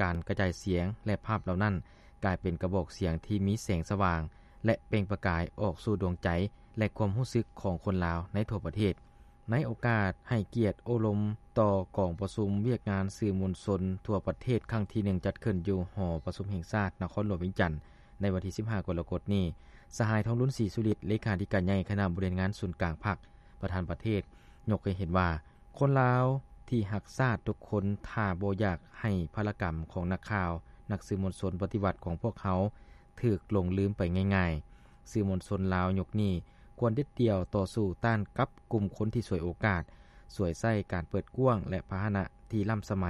ການກະຈາຍສຽງ ແລະ ພາບເຫຼົ່ານັ້ນ ກາຍເປັນກະບອກສຽງທີ່ມີແສງສະຫວ່າງ ແລະ ເປັ່ງປະກາຍອອກສູ່ດວງໃຈ ແລະ ຄວາມຮູ້ສຶກຂອງຄົນລາວໃນທົ່ວປະເທດ. ໃນໂອກາດໃຫ້ກຽດໂອ້ລົມຕໍ່ກອງປະຊຸມວຽກງານສື່ມວນຊົນທົ່ວປະເທດຄັ້ງທີໜຶ່ງ ຈັດຂຶ້ນຢູ່ຫໍປະຊຸມແຫ່ງຊາດນະຄອນຫຼວງວຽງຈັນ ໃນວັນທີສິບຫ້າ ກໍລະກົດນີ້, ສະຫາຍ ທອງລຸນ ສີສຸລິດ ເລຂາທິການໃຫຍ່ຄະນະບໍລິຫານງານສູນກາງພັກ ປະທານປະເທດ ຍົກໃຫ້ເຫັນວ່າ ຄົນລາວທີ່ຮັກຊາດທຸກຄົນ ຖ້າບໍ່ຢາກໃຫ້ພາລະກຳຂອງນັກຂ່າວ, ນັກສື່ມວນຊົນປະຕິວັດຂອງພວກເຮົາຖືກຫຼົງລືມໄປງ່າຍໆ. ສື່ມວນຊົນລາວຍຸກນີ້ຄວນເດັດດ່ຽວຕໍ່ສູ້ຕ້ານກັບກຸ່ມຄົນທີ່ສວຍໂອກາດ, ສວຍໃຊ້ການເປີດກວ້າງ ແລະ ພາຫະນະທີ່ລ້ຳສະໄໝ,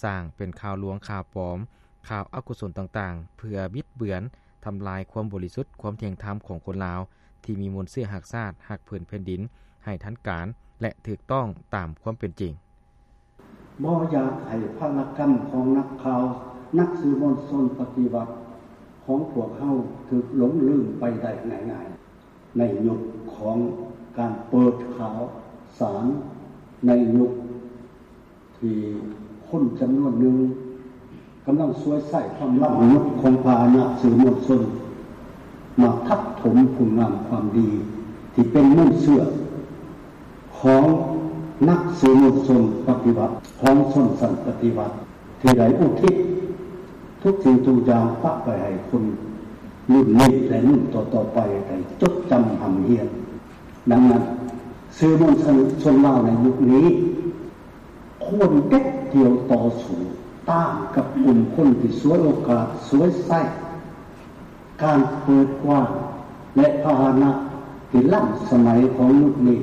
ສ້າງເປັນຂ່າວລວງ, ຂ່າວປອມ, ຂ່າວອະກຸສົນຕ່າງໆ ເພື່ອບິດເບືອນ, ທຳລາຍຄວາມບໍລິສຸດ, ຄວາມທ່ຽງທຳຂອງຄົນລາວ ທີ່ມີມູນເຊື້ອຮັກຊາດ, ຮັກພື້ນແຜ່ນດິນ ໃຫ້ທັນການ ແລະ ຖືກຕ້ອງຕາມຄວາມເປັນຈິງ. ບໍ່ຢາກໃຫ້ພາລະກຳຂອງນັກຂ່າວ, ນັກສື່ມວນຊົນປະຕິວັດຂອງພວກເຮົາຖືກຫຼົງລືມໄປໄດ້ງ່າຍໆ ໃນຍຸກຂອງການເປີດຂ່າວສານ, ໃນຍຸກ ທີ່ຄົນຈຳນວນໜຶ່ງກຳລັງສວຍໃຊ້ຄວາມລ້ຳລຸກຂອງພາຫະນະສື່ມວນຊົນ ມາທັບຖົມຄຸນງາມຄວາມດີທີ່ເປັນມູນເຊື້ອຂອງນັກສື່ມວນຊົນປະຕິວັດ ຂອງຊົນຊັ້ນປະຕິວັດ ທີ່ໄດ້ອຸທິດທຸກສິ່ງທຸກຢ່າງປະໄວ້ໃຫ້ຄົນລຸ້ນນີ້ ແລະ ລຸ້ນຕໍ່ໆໄປໄດ້ຈົດຈຳຮ່ຳຮຽນ. ດັ່ງນັ້ນ, ສື່ມວນຊົນລາວໃນຍຸກນີ້ ຄວນເດັດດ່ຽວຕໍ່ສູ້ຕ້ານກັບກຸ່ມຄົນທີ່ສວຍໂອກາດ, ສວຍໃຊ້ການເປີດກວ້າງ ແລະ ພາຫະນະທີ່ລ້ຳສະໄໝຂອງຍຸກນີ້,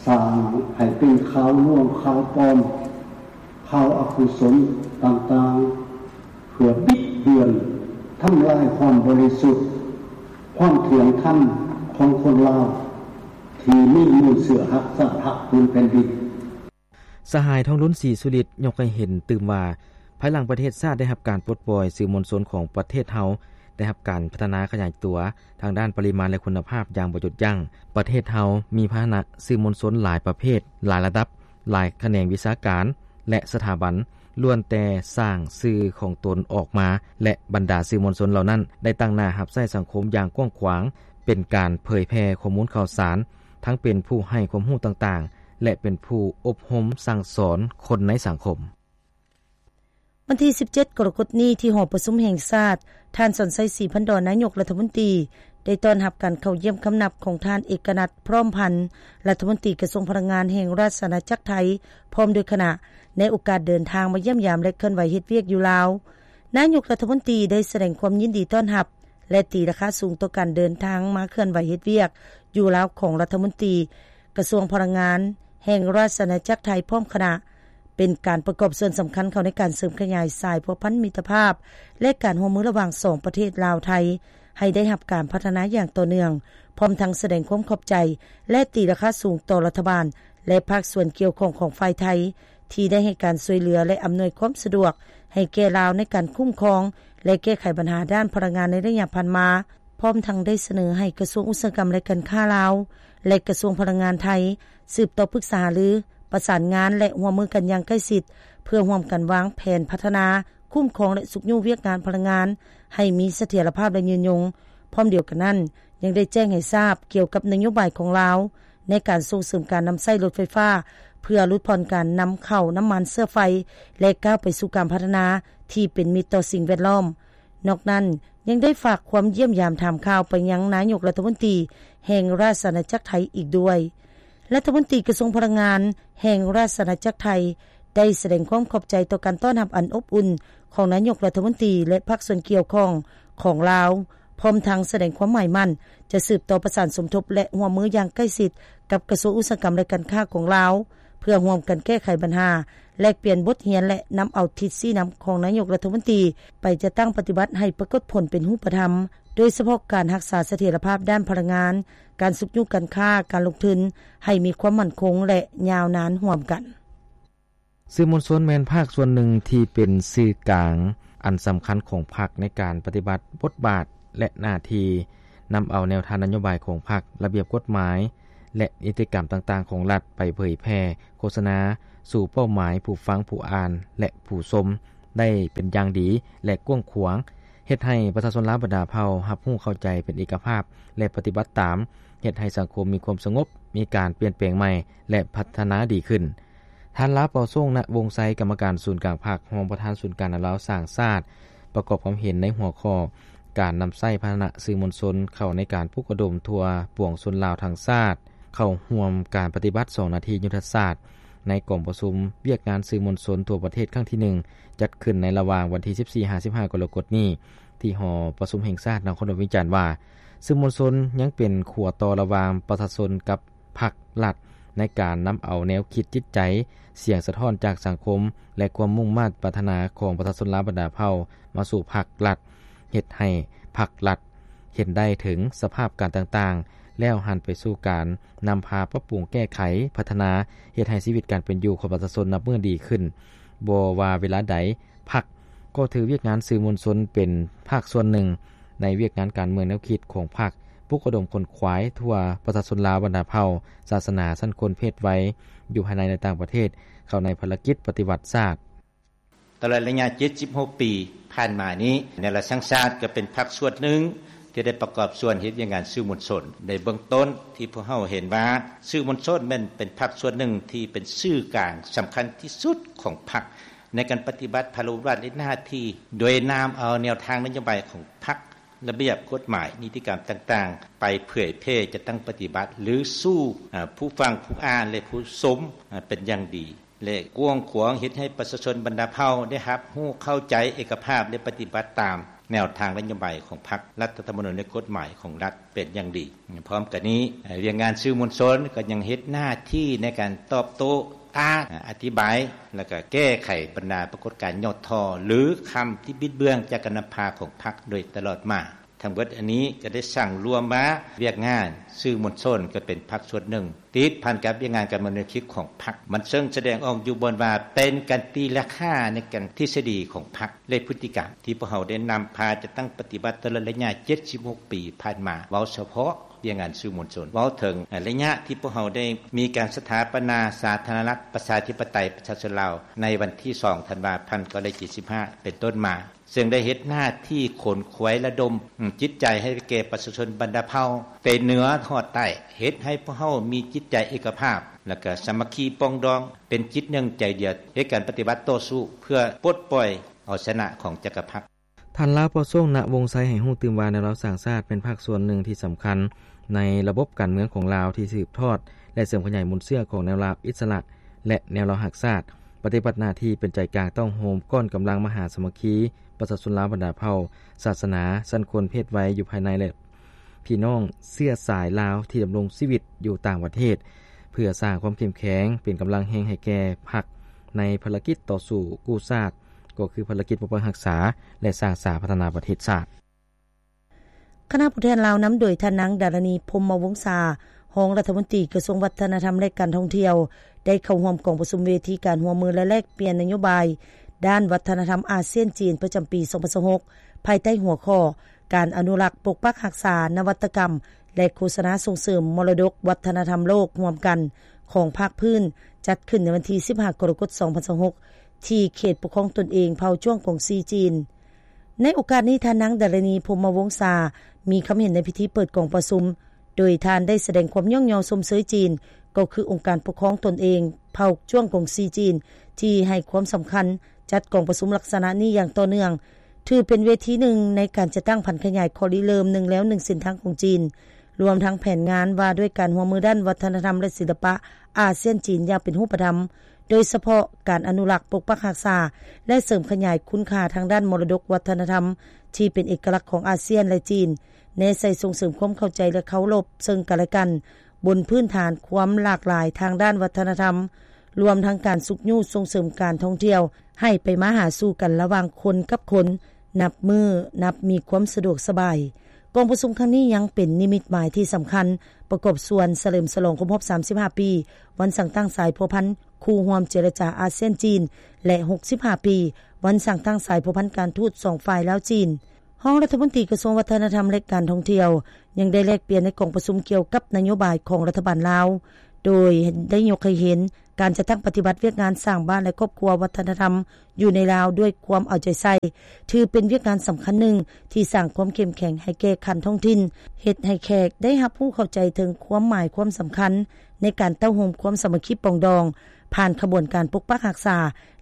ສ້າງໃຫ້ເປັນຂ່າວລວງ, ຂ່າວປອມ, ຂ່າວອະກຸສົນຕ່າງໆ ເພື່ອບິດເບືອນ, ທຳລາຍຄວາມບໍລິສຸດ, ຄວາມທ່ຽງທຳຂອງຄົນລາວ ທີ່ມີມູນເຊື້ອຮັກຊາດ, ຮັກພື້ນແຜ່ນດິນ. ສະຫາຍ ທອງລຸນ ສີສຸລິດ ຍົກໃຫ້ເຫັນຕື່ມວ່າ, ພາຍຫຼັງປະເທດຊາດໄດ້ຮັບການປົດປ່ອຍ, ສື່ມວນຊົນຂອງປະເທດເຮົາໄດ້ຮັບການພັດທະນາຂະຫຍາຍຕົວທາງດ້ານປະລິມານ ແລະ ຄຸນນະພາບຢ່າງບໍ່ຢຸດຢັ້ງ. ປະເທດເຮົາມີພາຫະນະສື່ມວນຊົນຫຼາຍປະເພດ, ຫຼາຍລະດັບ, ຫຼາຍຂະແໜງວິຊາການ ແລະ ສະຖາບັນ ລ້ວນແຕ່ສ້າງຊື່ຂອງຕົນອອກມາ ແລະ ບັນດາສື່ມວນຊົນເຫຼົ່ານັ້ນໄດ້ຕັ້ງໜ້າຮັບໃຊ້ສັງຄົມຢ່າງກວ້າງຂວາງ, ເປັນການເຜີຍແຜ່ຂໍ້ມູນຂ່າວສານ, ທັງເປັນຜູ້ໃຫ້ຄວາມຮູ້ຕ່າງໆ ແລະ ເປັນຜູ້ອົບຮົມສັ່ງສອນຄົນໃນສັງຄົມ. ວັນທີສິບເຈັດ ກໍລະກົດນີ້ ທີ່ຫໍປະຊຸມແຫ່ງຊາດ, ທ່ານ ສອນໄຊ ສີພັນດອນ ນາຍົກລັດຖະມົນຕີ ໄດ້ຕ້ອນຮັບການເຂົ້າຢ້ຽມຄຳນັບຂອງທ່ານ ເອກະນັດ ພ້ອມພັນ ລັດຖະມົນຕີກະຊວງພະລັງງານແຫ່ງລາຊະອານາຈັກໄທ ພ້ອມດ້ວຍຄະນະ ໃນໂອກາດເດີນທາງມາຢ້ຽມຢາມ ແລະ ເຄື່ອນໄຫວເຮັດວຽກຢູ່ລາວ. ນາຍົກລັດຖະມົນຕີໄດ້ສະແດງຄວາມຍິນດີຕ້ອນຮັບ ແລະ ຕີລາຄາສູງຕໍ່ການເດີນທາງມາເຄື່ອນໄຫວເຮັດວຽກຢູ່ລາວຂອງລັດຖະມົນຕີກະຊວງພະລັງງານແຫ່ງລາຊະອານາຈັກໄທພ້ອມຄະນະ, ເປັນການປະກອບສ່ວນສຳຄັນເຂົ້າໃນການເສີມຂະຫຍາຍສາຍພົວພັນມິດຕະພາບ ແລະ ການຮ່ວມມືລະຫວ່າງສອງປະເທດລາວ-ໄທ ໃຫ້ໄດ້ຮັບການພັດທະນາຢ່າງຕໍ່ເນື່ອງ, ພ້ອມທັງສະແດງຄວາມຂອບໃຈ ແລະ ຕີລາຄາສູງຕໍ່ລັດຖະບານ ແລະ ພາກສ່ວນກ່ຽວຂ້ອງຂອງຝ່າຍໄທ ທີ່ໄດ້ໃຫ້ການຊ່ວຍເຫຼືອ ແລະ ອຳນວຍຄວາມສະດວກໃຫ້ແກ່ລາວໃນການຄຸ້ມຄອງ ແລະ ແກ້ໄຂບັນຫາດ້ານພະລັງງານໃນໄລຍະຜ່ານມາ, ພ້ອມທັງໄດ້ສະເໜີໃຫ້ກະຊວງອຸດສາຫະກຳ ແລະ ການຄ້າລາວ ແລະ ກະຊວງພະລັງງານໄທ ສືບຕໍ່ປຶກສາຫາລື, ປະສານງານ ແລະ ຮ່ວມມືກັນຢ່າງໃກ້ຊິດ ເພື່ອຮ່ວມກັນວາງແຜນພັດທະນາ, ຄຸ້ມຄອງ ແລະ ຊຸກຍູ້ວຽກງານພະລັງງານໃຫ້ມີສະຖຽນລະພາບ ແລະ ຍືນຍົງ. ພ້ອມດຽວກັນນັ້ນ, ຍັງໄດ້ແຈ້ງໃຫ້ຊາບກ່ຽວກັບນະໂຍບາຍຂອງລາວ ໃນການສົ່ງເສີມການນຳໃຊ້ລົດໄຟຟ້າ ເພື່ອຫຼຸດຜ່ອນການນຳເຂົ້ານ້ຳມັນເຊື້ອໄຟ ແລະ ກ້າວໄປສູ່ການພັດທະນາທີ່ເປັນມິດຕໍ່ສິ່ງແວດລ້ອມ. ນອກນັ້ນ, ຍັງໄດ້ຝາກຄວາມຢ້ຽມຢາມຖາມຂ່າວໄປຍັງນາຍົກລັດຖະມົນຕີແຫ່ງລາຊະອານາຈັກໄທອີກດ້ວຍ. ລັດຖະມົນຕີກະຊວງພະລັງງານແຫ່ງລາຊະອານາຈັກໄທ ໄດ້ສະແດງຄວາມຂອບໃຈຕໍ່ການຕ້ອນຮັບອັນອົບອຸ່ນຂອງນາຍົກລັດຖະມົນຕີ ແລະ ພາກສ່ວນກ່ຽວຂ້ອງຂອງລາວ, ພ້ອມທັງສະແດງຄວາມໝາຍໝັ້ນຈະສືບຕໍ່ປະສານສົມທົບ ແລະ ຮ່ວມມືຢ່າງໃກ້ຊິດກັບກະຊວງອຸດສາຫະກຳ ແລະ ການຄ້າຂອງລາວ ເພື່ອຮ່ວມກັນແກ້ໄຂບັນຫາ, ແລກປ່ຽນບົດຮຽນ ແລະ ນຳເອົາທິດຊີ້ນຳຂອງນາຍົກລັດຖະມົນຕີໄປຈັດຕັ້ງປະຕິບັດໃຫ້ປາກົດຜົນເປັນຮູບປະທຳ, ໂດຍສະເພາະການຮັກສາສະຖຽນລະພາບດ້ານພະລັງງານ, ການຊຸກຍູ້ການຄ້າ, ການລົງທຶນໃຫ້ມີຄວາມໝັ້ນຄົງ ແລະ ຍາວນານຮ່ວມກັນ. ສື່ມວນຊົນແມ່ນພາກສ່ວນໜຶ່ງທີ່ເປັນສື່ກາງອັນສຳຄັນຂອງພັກໃນການປະຕິບັດບົດບາດ ແລະ ໜ້າທີ່, ນຳເອົາແນວທາງນະໂຍບາຍຂອງພັກ, ລະບຽບກົດໝາຍ ແລະ ນິຕິກຳຕ່າງໆຂອງລັດໄປເຜີຍແຜ່, ໂຄສະນາສູ່ເປົ້າໝາຍຜູ້ຟັງ, ຜູ້ອ່ານ ແລະ ຜູ້ຊົມ ໄດ້ເປັນຢ່າງດີ ແລະ ກວ້າງຂວາງ, ເຮັດໃຫ້ປະຊາຊົນລາວບັນດາເຜົ່າຮັບຮູ້ເຂົ້າໃຈເປັນເອກະພາບ ແລະ ປະຕິບັດຕາມ, ເຮັດໃຫ້ສັງຄົມມີຄວາມສະຫງົບ, ມີການປ່ຽນແປງໃໝ່ ແລະ ພັດທະນາດີຂຶ້ນ. ທ່ານ ລາວ ເປົາໂຊງ ນະວົງໄຊ, ກຳມະການສູນກາງພັກ, ຮອງປະທານສູນກາງແນວລາວສ້າງຊາດ, ປະກອບຄວາມເຫັນໃນຫົວຂໍ້ ການນຳໃຊ້ພາຫະນະສື່ມວນຊົນເຂົ້າໃນການປຸກລະດົມທົ່ວປວງຊົນລາວທັງຊາດ ເຂົ້າຮ່ວມການປະຕິບັດສອງນາທີຍຸດທະສາດ ໃນກອງປະຊຸມວຽກງານສື່ມວນຊົນທົ່ວປະເທດຄັ້ງທີໜຶ່ງ ຈັດຂຶ້ນໃນລະຫວ່າງວັນທີສິບສີ່ຫາສິບຫ້າກໍລະກົດນີ້ ທີ່ຫໍປະຊຸມແຫ່ງຊາດນະຄອນຫຼວງວຽງຈັນວ່າ ສື່ມວນຊົນຍັງເປັນຂົວຕໍ່ລະຫວ່າງປະຊາຊົນກັບພັກລັດ ໃນການນຳເອົາແນວຄິດ, ຈິດໃຈ, ສຽງສະທ້ອນຈາກສັງຄົມ ແລະ ຄວາມມຸ່ງມາດປາດຖະໜາຂອງປະຊາຊົນລາວບັນດາເຜົ່າມາສູ່ພັກລັດ, ເຮັດໃຫ້ພັກລັດເຫັນໄດ້ເຖິງສະພາບການຕ່າງໆ ແລ້ວຫັນໄປສູ່ການນຳພາປັບປຸງແກ້ໄຂ, ພັດທະນາ, ເຮັດໃຫ້ຊີວິດການເປັນຢູ່ຂອງປະຊາຊົນນັບມື້ດີຂຶ້ນ. ບໍ່ວ່າເວລາໃດ, ພັກກໍຖືວຽກງານສື່ມວນຊົນເປັນພາກສ່ວນໜຶ່ງໃນວຽກງານການເມືອງແນວຄິດຂອງພັກ, ປຸກລະດົມຂົນຂວາຍທົ່ວປະຊາຊົນລາວບັນດາເຜົ່າ, ສາສະໜາ, ຊັ້ນຄົນ, ເພດໄວ ຢູ່ພາຍໃນ ແລະ ຕ່າງປະເທດ ເຂົ້າໃນພາລະກິດປະຕິວັດຊາດ. ຕະຫຼອດໄລຍະເຈັດສິບຫົກປີຜ່ານມານີ້, ແນວລາວສ້າງຊາດກໍເປັນພາກສ່ວນໜຶ່ງທີ່ໄດ້ປະກອບສ່ວນເຮັດວຽກງານສື່ມວນຊົນ. ໃນເບື້ອງຕົ້ນທີ່ພວກເຮົາເຫັນວ່າ ສື່ມວນຊົນແມ່ນເປັນພາກສ່ວນໜຶ່ງທີ່ເປັນສື່ກາງສຳຄັນທີ່ສຸດຂອງພັກ ໃນການປະຕິບັດພາລະບົດບາດ ແລະ ໜ້າທີ່ ໂດຍນຳເອົາແນວທາງນະໂຍບາຍຂອງພັກ, ລະບຽບກົດໝາຍ, ນິຕິກຳຕ່າງໆ ໄປເຜີຍແຜ່ຈັດຕັ້ງປະຕິບັດ ຫຼື ສູ່ ອາ ຜູ້ຟັງ, ຜູ້ອ່ານ ແລະ ຜູ້ຊົມ ອາ ເປັນຢ່າງດີ ແລະ ກວ້າງຂວາງ, ເຮັດໃຫ້ປະຊາຊົນບັນດາເຜົ່າໄດ້ຮັບຮູ້ເຂົ້າໃຈເອກະພາບ ແລະ ປະຕິບັດຕາມແນວທາງນະໂຍບາຍຂອງພັກ, ລັດຖະທຳມະນູນ ແລະ ກົດໝາຍຂອງລັດເປັນຢ່າງດີ. ພ້ອມກັນນີ້, ວຽກງານສື່ມວນຊົນກໍຍັງເຮັດໜ້າທີ່ໃນການຕອບໂຕ້, ຕ້ານ, ອະທິບາຍ ແລະ ກໍແກ້ໄຂບັນດາປາກົດການຫຍໍ້ທໍ້ ຫຼື ຄຳທີ່ບິດເບືອນຈາກການນຳພາຂອງພັກໂດຍຕະຫຼອດມາ. ທັງເບິດອັນນີ້ກໍໄດ້ສັງລວມມາ, ວຽກງານສື່ມວນຊົນກໍເປັນພາກສ່ວນໜຶ່ງ ຕິດພັນກັບວຽກງານການເມືອງແນວຄິດຂອງພັກ. ມັນເຊິ່ງສະແດງອອກຢູ່ບ່ອນວ່າ ເປັນການຕີລາຄາໃນການທິດສະດີຂອງພັກ ແລະ ພຶດຕິກຳທີ່ພວກເຮົາໄດ້ນຳພາຈັດຕັ້ງປະຕິບັດຕະຫຼອດໄລຍະເຈັດສິບຫົກປີຜ່ານມາ, ເວົ້າສະເພາະວຽກງານສື່ມວນຊົນ, ເວົ້າເຖິງໄລຍະທີ່ພວກເຮົາໄດ້ມີການສະຖາປະນາສາທາລະນະລັດ ປະຊາທິປະໄຕ ປະຊາຊົນລາວ ໃນວັນທີສອງ ທັນວາ ພັນເກົ້າຮ້ອຍເຈັດສິບຫ້າ ເປັນຕົ້ນມາ, ເຊິ່ງໄດ້ເຮັດໜ້າທີ່ຂົນຂວາຍລະດົມ ອາ ຈິດໃຈໃຫ້ແກ່ປະຊາຊົນບັນດາເຜົ່າ ແຕ່ເໜືອຮອດໃຕ້, ເຮັດໃຫ້ພວກເຮົາມີຈິດໃຈເອກະພາບ ແລະ ກໍສາມັກຄີປອງດອງ ເປັນຈິດໜຶ່ງໃຈດຽວ ເຮັດການປະຕິວັດຕໍ່ສູ້ ເພື່ອປົດປ່ອຍເອົາຊະນະຂອງຈັກກະພັດ. ທ່ານ ລາວ ເປົາໂຊງ ນະວົງໄຊ ໃຫ້ຮູ້ຕື່ມວ່າ ແນວລາວສ້າງຊາດເປັນພາກສ່ວນໜຶ່ງທີ່ສຳຄັນໃນລະບົບການເມືອງຂອງລາວ ທີ່ສືບທອດ ແລະ ເສີມຂະຫຍາຍມູນເຊື້ອຂອງແນວລາວອິດສະຫຼະ ແລະ ແນວລາວຮັກຊາດ, ປະຕິບັດໜ້າທີ່ເປັນໃຈກາງຕ້ອງໂຮມກ້ອນກຳລັງມະຫາສາມັກຄີ ປະຊາຊົນລາວບັນດາເຜົ່າ, ສາສະໜາ, ຊັ້ນຄົນ, ເພດໄວ ຢູ່ພາຍໃນ ແລະ ພີ່ນ້ອງເຊື້ອສາຍລາວທີ່ດຳລົງຊີວິດຢູ່ຕ່າງປະເທດ ເພື່ອສ້າງຄວາມເຂັ້ມແຂງເປັນກຳລັງແຮງໃຫ້ແກ່ພັກ ໃນພາລະກິດຕໍ່ສູ້ກູ້ຊາດ ກໍຄືພາລະກິດປົກປັກຮັກສາ ແລະ ສ້າງສາພັດທະນາປະເທດຊາດ. ຄະນະຜູ້ແທນລາວນຳໂດຍທ່ານນາງ ດາລະນີ ພົມມະວົງສາ ຮອງລັດຖະມົນຕີກະຊວງວັດທະນະທຳ ແລະ ການທ່ອງທ່ຽວ ໄດ້ເຂົ້າຮ່ວມກອງປະຊຸມເວທີການຮ່ວມມື ແລະ ແລກປ່ຽນນະໂຍບາຍດ້ານວັດທະນະທຳອາຊຽນ-ຈີນ ປະຈຳປີສອງພັນຊາວຫົກ ພາຍໃຕ້ຫົວຂໍ້ ການອະນຸລັກ, ປົກປັກຮັກສາ, ນະວັດຕະກຳ ແລະ ໂຄສະນາສົ່ງເສີມມໍລະດົກວັດທະນະທຳໂລກຮ່ວມກັນ ຂອງພາກພື້ນ ຈັດຂຶ້ນໃນວັນທີສິບຫ້າ ກໍລະກົດ ສອງພັນຊາວຫົກ ທີ່ເຂດປົກຄອງຕົນເອງເຜົ່າຈວງກົງຊີຈີນ. ໃນໂອກາດນີ້, ທ່ານນາງ ດາລະນີ ພົມມະວົງສາ ມີຄຳເຫັນໃນພິທີເປີດກອງປະຊຸມ ໂດຍທ່ານໄດ້ສະແດງຄວາມຍ້ອງຍໍຊົມເຊີຍຈີນ ກໍຄືອົງການປົກຄອງຕົນເອງເຜົ່າຈວງກົງຊີຈີນ ທີ່ໃຫ້ຄວາມສຳຄັນຈັດກອງປະຊຸມລັກສະນະນີ້ຢ່າງຕໍ່ເນື່ອງ, ຖືເປັນເວທີໜຶ່ງໃນການຈັດຕັ້ງຜັນຂະຫຍາຍຂໍ້ລິເລີ່ມໜຶ່ງແລວໜຶ່ງເສັ້ນທາງຂອງຈີນ, ລວມທັງແຜນງານວ່າດ້ວຍການຮ່ວມມືດ້ານວັດທະນະທຳ ແລະ ສິລະປະອາຊຽນ-ຈີນຢ່າງເປັນຮູບປະທຳ, ໂດຍສະເພາະການອະນຸລັກ, ປົກປັກຮັກສາ ແລະ ເສີມຂະຫຍາຍຄຸນຄ່າທາງດ້ານມໍລະດົກວັດທະນະທຳທີ່ເປັນເອກະລັກຂອງອາຊຽນ ແລະ ຈີນ, ແນໃສ່ສົ່ງເສີມຄວາມເຂົ້າໃຈ ແລະ ເຄົາລົບເຊິ່ງກັນ ແລະ ກັນ ບົນພື້ນຖານຄວາມຫຼາກຫຼາຍທາງດ້ານວັດທະນະທຳ, ລວມທັງການຊຸກຍູ້ສົ່ງເສີມການທ່ອງທ່ຽວໃຫ້ໄປມາຫາສູ່ກັນລະຫວ່າງຄົນກັບຄົນ ນັບມື້ນັບມີຄວາມສະດວກສະບາຍ. ກອງປະຊຸມຄັ້ງນີ້ຍັງເປັນນິມິດໝາຍທີ່ສຳຄັນ ປະກອບສ່ວນສະເຫຼີມສະຫຼອງຄົບຮອບສາມສິບຫ້າປີ ວັນສ້າງຕັ້ງສາຍພົວພັນຄູ່ຮ່ວມເຈລະຈາອາຊຽນ-ຈີນ ແລະ ຫົກສິບຫ້າປີ ວັນສ້າງຕັ້ງສາຍພົວພັນການທູດສອງຝ່າຍລາວ-ຈີນ. ຮອງລັດຖະມົນຕີກະຊວງວັດທະນະທຳ ແລະ ການທ່ອງທ່ຽວ ຍັງໄດ້ແລກປ່ຽນໃນກອງປະຊຸມກ່ຽວກັບນະໂຍບາຍຂອງລັດຖະບານລາວ ໂດຍໄດ້ຍົກໃຫ້ເຫັນ ການຈັດຕັ້ງປະຕິບັດວຽກງານສ້າງບ້ານ ແລະ ຄອບຄົວວັດທະນະທຳຢູ່ໃນລາວດ້ວຍຄວາມເອົາໃຈໃສ່ ຖືເປັນວຽກງານສຳຄັນໜຶ່ງທີ່ສ້າງຄວາມເຂັ້ມແຂງໃຫ້ແກ່ຂັ້ນທ້ອງຖິ່ນ, ເຮັດໃຫ້ແຂກໄດ້ຮັບຮູ້ເຂົ້າໃຈເຖິງຄວາມໝາຍຄວາມສຳຄັນໃນການເຕົ້າໂຮມຄວາມສາມັກຄີປອງດອງ ຜ່ານຂະບວນການປົກປັກຮັກສາ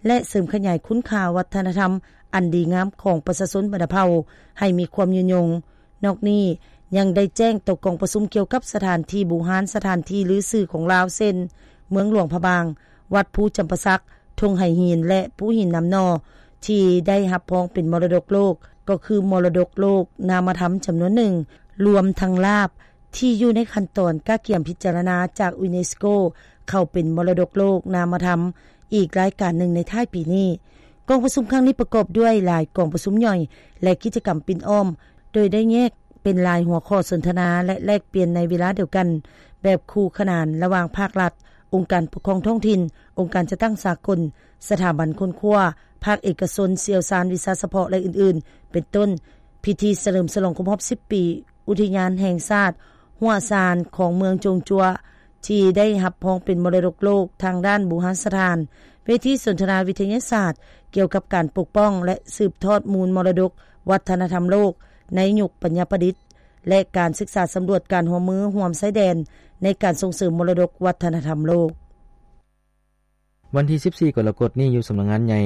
ແລະ ເສີມຂະຫຍາຍຄຸນຄ່າວັດທະນະທຳອັນດີງາມຂອງປະຊາຊົນບັນດາເຜົ່າໃຫ້ມີຄວາມຍືນຍົງ. ນອກນີ້ຍັງໄດ້ແຈ້ງຕໍ່ກອງປະຊຸມກ່ຽວກັບສະຖານທີ່ບູຮານ, ສະຖານທີ່ລືຊື່ຂອງລາວ ເຊັ່ນ ເມືອງຫຼວງພະບາງ, ວັດພູຈຳປາສັກ, ທົ່ງໄຫຫີນ ແລະ ພູຫີນນາມໜໍ່ ທີ່ໄດ້ຮັບຮອງເປັນມໍລະດົກໂລກ ກໍຄືມໍລະດົກໂລກນາມະທຳຈຳນວນໜຶ່ງ, ລວມທັງລາບທີ່ຢູ່ໃນຂັ້ນຕອນກະກຽມພິຈາລະນາຈາກຢູເນສໂກ ເຂົ້າເປັນມໍລະດົກໂລກນາມະທຳ ອີກລາຍການໜຶ່ງໃນທ້າຍປີນີ້. ກອງປະຊຸມຄັ້ງນີ້ປະກອບດ້ວຍຫຼາຍກອງປະຊຸມຍ່ອຍ ແລະ ກິດຈະກຳປິ່ນອ້ອມ ໂດຍໄດ້ແຍກເປັນຫຼາຍຫົວຂໍ້ສົນທະນາ ແລະ ແລກປ່ຽນໃນເວລາດຽວກັນ ແບບຄູ່ຂນານລະຫວ່າງພາກລັດ, ອົງການປົກຄອງທ້ອງຖິ່ນ, ອົງການຈັດຕັ້ງສາກົນ, ສະຖາບັນຄົ້ນຄວ້າ, ພາກເອກະຊົນ, ຊ່ຽວຊານວິຊາສະເພາະ ແລະ ອື່ນໆ ເປັນຕົ້ນ ພິທີສະເຫຼີມສະຫຼອງຄົບຮອບສິບປີ ອຸທິຍານແຫ່ງຊາດຫົວຊານຂອງເມືອງຈົງຈົວ ທີ່ໄດ້ຮັບຮອງເປັນມໍລະດົກໂລກທາງດ້ານບູຮານສະຖານ, ເວທີສົນທະນາວິທະຍາສາດກ່ຽວກັບການປົກປ້ອງ ແລະ ສືບທອດມູນມໍລະດົກວັດທະນະທຳໂລກໃນຍຸກປັນຍາປະດິດ ແລະ ການສຶກສາສຳຫຼວດການຮ່ວມມືຮ່ວມຊາຍແດນໃນການສົ່ງເສີມມໍລະດົກວັດທະນະທຳໂລກ. ວັນທີສິບສີ່ ກໍລະກົດນີ້ ຢູ່ສຳນັກງານໃຫຍ່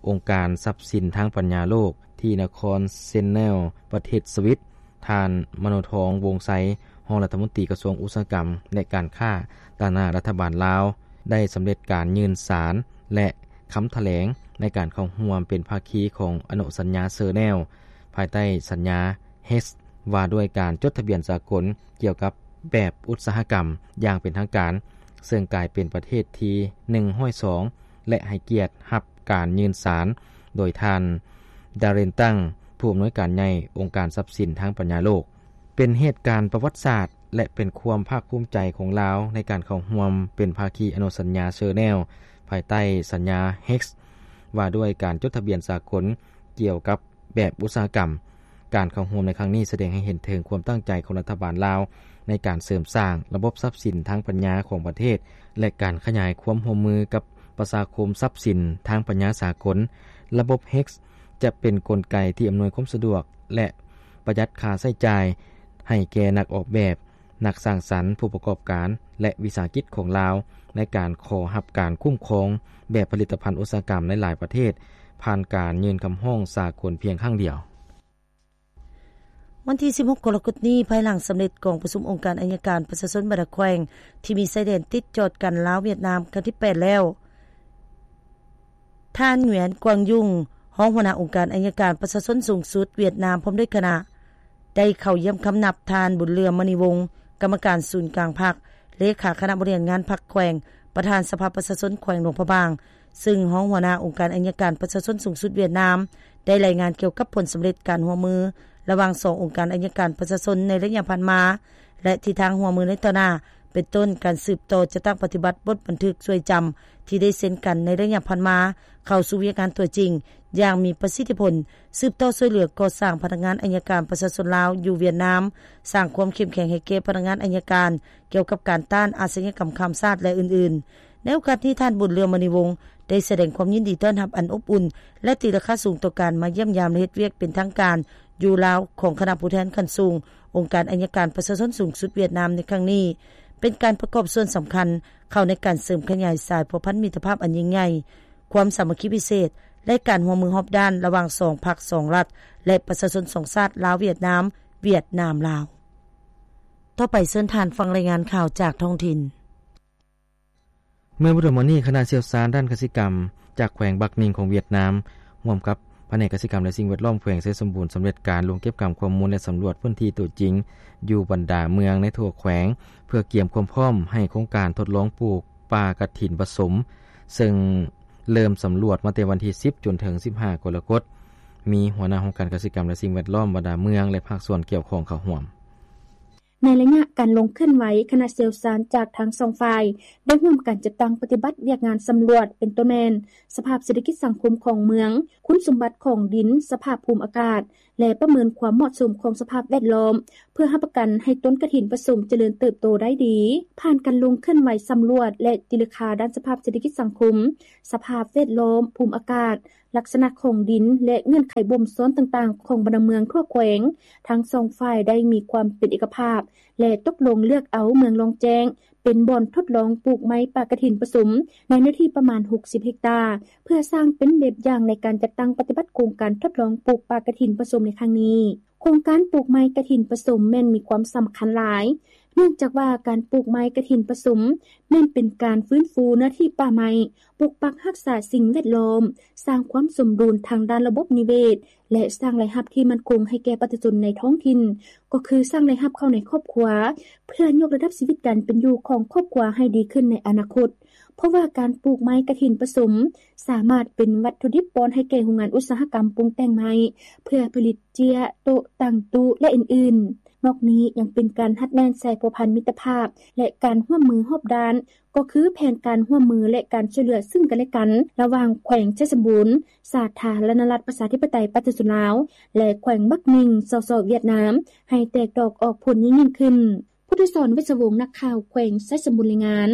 ອົງການຊັບສິນທາງປັນຍາໂລກ ທີ່ນະຄອນເຊັນແນວ ປະເທດສະວິດ, ທ່ານ ມະໂນທອງ ວົງໄຊ ຮອງລັດຖະມົນຕີກະຊວງອຸດສາຫະກຳ ແລະ ການຄ້າ ຕາງໜ້າລັດຖະບານລາວ ໄດ້ສຳເລັດການຍື່ນສານ ແລະ ຄຳຖະແຫຼງໃນການເຂົ້າຮ່ວມເປັນພາຄີຂອງອະນຸສັນຍາເຊີແນວ ພາຍໃຕ້ສັນຍາ ເຮັກ ວ່າດ້ວຍການຈົດທະບຽນສາກົນກ່ຽວກັບແບບອຸດສາຫະກຳຢ່າງເປັນທາງການ, ເຊິ່ງກາຍເປັນປະເທດທີໜຶ່ງຮ້ອຍສອງ ແລະ ໃຫ້ກຽດຮັບການຍື່ນສານໂດຍທ່ານ ດາເຣນ ຕັງ ຜູ້ອຳນວຍການໃຫຍ່ອົງການຊັບສິນທາງປັນຍາໂລກ. ເປັນເຫດການປະຫວັດສາດ ແລະ ເປັນຄວາມພາກພູມໃຈຂອງລາວໃນການເຂົ້າຮ່ວມເປັນພາຄີອະນຸສັນຍາເຊີແນວ ພາຍໃຕ້ສັນຍາ ເຮັກ ວ່າດ້ວຍການຈົດທະບຽນສາກົນກ່ຽວກັບ ແບບອຸດສາຫະກຳ. ການເຂົ້າຮ່ວມໃນຄັ້ງນີ້ສະແດງໃຫ້ເຫັນເຖິງຄວາມຕັ້ງໃຈຂອງລັດຖະບານລາວ ໃນການເສີມສ້າງລະບົບຊັບສິນທາງປັນຍາຂອງປະເທດ ແລະ ການຂະຫຍາຍຄວາມຮ່ວມມືກັບປະຊາຄົມຊັບສິນທາງປັນຍາສາກົນ. ລະບົບ ເຮັກ ຈະເປັນກົນໄກທີ່ອຳນວຍຄວາມສະດວກ ແລະ ປະຢັດຄ່າໃຊ້ຈ່າຍໃຫ້ແກ່ນັກອອກແບບ, ນັກສ້າງສັນ, ຜູ້ປະກອບການ ແລະ ວິສາຫະກິດຂອງລາວ ໃນການຂໍຮັບການຄຸ້ມຄອງແບບຜະລິດຕະພັນອຸດສາຫະກຳໃນຫຼາຍປະເທດ ຜ່ານການຍື່ນຄຳຮ້ອງສາກົນພຽງຄັ້ງດຽວ. ວັນທີສິບຫົກ ກໍລະກົດນີ້, ພາຍຫຼັງສຳເລັດກອງປະຊຸມອົງການໄອຍະການປະຊາຊົນບັນດາແຂວງທີ່ມີຊາຍແດນຕິດຈອດກັນລາວ-ຫວຽດນາມ ຄັ້ງທີແປດແລ້ວ, ທ່ານ ຫງວຽນ ກວາງຍຸງ ຮອງຫົວໜ້າອົງການໄອຍະການປະຊາຊົນສູງສຸດຫວຽດນາມ ພ້ອມດ້ວຍຄະນະ ໄດ້ເຂົ້າຢ້ຽມຄຳນັບທ່ານ ບຸນເຫຼືອມ ມະນີວົງ ກຳມະການສູນກາງພັກ, ເລຂາຄະນະບໍລິຫານງານພັກແຂວງ, ປະທານສະພາປະຊາຊົນແຂວງຫຼວງພະບາງ, ຊຶ່ງຮອງຫົວໜ້າອົງການໄອຍະການປະຊາຊົນສູງສຸດຫວຽດນາມ ໄດ້ລາຍງານກ່ຽວກັບຜົນສຳເລັດການຮ່ວມມືລະຫວ່າງສອງອົງການໄອຍະການປະຊາຊົນໃນໄລຍະຜ່ານມາ ແລະ ທິດທາງຮ່ວມມືໃນຕໍ່ໜ້າ ເປັນຕົ້ນການສືບຕໍ່ຈັດຕັ້ງປະຕິບັດບົດບັນທຶກຊ່ວຍຈຳທີ່ໄດ້ເຊັນກັນໃນໄລຍະຜ່ານມາ ເຂົ້າສູ່ວຽກງານຕົວຈິງຢ່າງມີປະສິດທິຜົນ, ສືບຕໍ່ຊ່ວຍເຫຼືອກໍ່ສ້າງພະນັກງານໄອຍະການປະຊາຊົນລາວຢູ່ຫວຽດນາມ, ສ້າງຄວາມເຂັ້ມແຂງໃຫ້ແກ່ພະນັກງານໄອຍະການກ່ຽວກັບການຕ້ານອາຊະຍາກຳຂ້າມຊາດ ແລະ ອື່ນໆ. ໃນໂອກາດນີ້, ທ່ານ ບຸນເຫຼືອມ ມະນີວົງ ໄດ້ສະແດງຄວາມຍິນດີຕ້ອນຮັບອັນອົບອຸ່ນ ແລະ ຕີລາຄາສູງຕໍ່ການມາຢ້ຽມຢາມ ແລະ ເຮັດວຽກເປັນທາງການຢູ່ລາວຂອງຄະນະຜູ້ແທນຂັ້ນສູງອົງການໄອຍະການປະຊາຊົນສູງສຸດຫວຽດນາມໃນຄັ້ງນີ້, ເປັນການປະກອບສ່ວນສຳຄັນເຂົ້າໃນການເສີມຂະຫຍາຍສາຍພົວພັນມິດຕະພາບອັນຍິ່ງໃຫຍ່, ຄວາມສາມັກຄີພິເສດ ແລະ ການຮ່ວມມືຮອບດ້ານລະຫວ່າງສອງພັກສອງລັດ ແລະ ປະຊາຊົນສອງຊາດ ລາວ-ຫວຽດນາມ, ຫວຽດນາມ-ລາວ. ຕໍ່ໄປເຊີນທ່ານຟັງລາຍງານຂ່າວຈາກທ້ອງຖິ່ນ. ເມື່ອບໍ່ດົນມານີ້, ຄະນະຊ່ຽວຊານດ້ານກະສິກຳຈາກແຂວງບັກນິງຂອງຫວຽດນາມ ຮ່ວມກັບພະແນກກະສິກຳ ແລະ ສິ່ງແວດລ້ອມແຂວງໄຊສົມບູນ ສຳເລັດການລົງເກັບກຳຂໍ້ມູນ ແລະ ສຳຫຼວດພື້ນທີ່ຕົວຈິງຢູ່ບັນດາເມືອງໃນທົ່ວແຂວງ ເພື່ອກຽມຄວາມພ້ອມໃຫ້ໂຄງການທົດລອງປູກປ່າກະຖິນປະສົມ, ເຊິ່ງເລີ່ມສຳຫຼວດມາແຕ່ວັນທີສິບ ຈົນເຖິງສິບຫ້າ ກໍລະກົດ, ມີຫົວໜ້າຫ້ອງການກະສິກຳ ແລະ ສິ່ງແວດລ້ອມບັນດາເມືອງ ແລະ ພາກສ່ວນກ່ຽວຂ້ອງເຂົ້າຮ່ວມ. ໃນໄລຍະການລົງເຄື່ອນໄຫວ, ຄະນະຊ່ຽວຊານຈາກທັງສອງຝ່າຍ ໄດ້ຮ່ວມກັນຈັດຕັ້ງປະຕິບັດວຽກງານສຳຫຼວດ ເປັນຕົ້ນແມ່ນ ສະພາບເສດຖະກິດສັງຄົມຂອງເມືອງ, ຄຸນສົມບັດຂອງດິນ, ສະພາບພູມອາກາດ ແລະ ປະເມີນຄວາມເໝາະສົມຂອງສະພາບແວດລ້ອມ ເພື່ອຮັບປະກັນໃຫ້ຕົ້ນກະຖິນປະສົມຈະເລີນເຕີບໂຕໄດ້ດີ. ຜ່ານການລົງເຄື່ອນໄຫວສຳຫຼວດ ແລະ ຕີລາຄາດ້ານສະພາບເສດຖະກິດສັງຄົມ, ສະພາບແວດລ້ອມ, ພູມອາກາດ, ລັກສະນະຂອງດິນ ແລະ ເງື່ອນໄຂບົ່ມຊ້ອນຕ່າງໆຂອງບັນດາເມືອງທົ່ວແຂວງ, ທັງສອງຝ່າຍໄດ້ມີຄວາມເປັນເອກະພາບ ແລະ ຕົກລົງເລືອກເອົາເມືອງລ່ອງແຈ້ງ ເປັນບ່ອນທົດລອງປູກໄມ້ປ່າກະຖິນປະສົມ ໃນເນື້ອທີ່ປະມານຫົກສິບເຮັກຕາ ເພື່ອສ້າງເປັນແບບຢ່າງໃນການຈັດຕັ້ງປະຕິບັດໂຄງການທົດລອງປູກປ່າກະຖິນປະສົມໃນຄັ້ງນີ້. ໂຄງການປູກໄມ້ກະຖິນປະສົມແມ່ນມີຄວາມສຳຄັນຫຼາຍ, ເນື່ອງຈາກວ່າການປູກໄມ້ກະຖິນປະສົມ ແມ່ນເປັນການຟື້ນຟູເນື້ອທີ່ປ່າໄມ້, ປົກປັກຮັກສາສິ່ງແວດລ້ອມ, ສ້າງຄວາມສົມດຸນທາງດ້ານລະບົບນິເວດ ແລະ ສ້າງລາຍຮັບທີ່ໝັ້ນຄົງໃຫ້ແກ່ປະຊາຊົນໃນທ້ອງຖິ່ນ, ກໍຄືສ້າງລາຍຮັບເຂົ້າໃນຄອບຄົວ ເພື່ອຍົກລະດັບຊີວິດການເປັນຢູ່ຂອງຄອບຄົວໃຫ້ດີຂຶ້ນໃນອະນາຄົດ. ເພາະວ່າການປູກໄມ້ກະຖິນປະສົມ ສາມາດເປັນວັດຖຸດິບປ້ອນໃຫ້ແກ່ໂຮງງານອຸດສາຫະກຳປຸງແຕ່ງໄມ້ ເພື່ອຜະລິດເຈ້ຍ, ໂຕະ, ຕັ່ງຕູ້ ແລະ ອື່ນໆ. ນອກນີ້ຍັງເປັນການຮັດແໜ້ນສາຍພົວພັນມິດຕະພາບ ແລະ ການຮ່ວມມືຮອບດ້ານ, ກໍຄືແຜນການຮ່ວມມື ແລະ ການຊ່ວຍເຫຼືອຊຶ່ງກັນແລະກັນ ລະຫວ່າງແຂວງໄຊສົມບູນ, ສາທາລະນະລັດປະຊາທິປະໄຕປະຊາຊົນລາວ ແລະ ແຂວງບັກໜິງ ສສ ຫວຽດນາມ ໃຫ້ແຕກດອກອອກຜົນຍິ່ງໆຂຶ້ນ. ພຸດທະສອນ ເວດສະວົງ ນັກຂ່າວແຂວງໄຊສົມບູນ ລາຍງານ.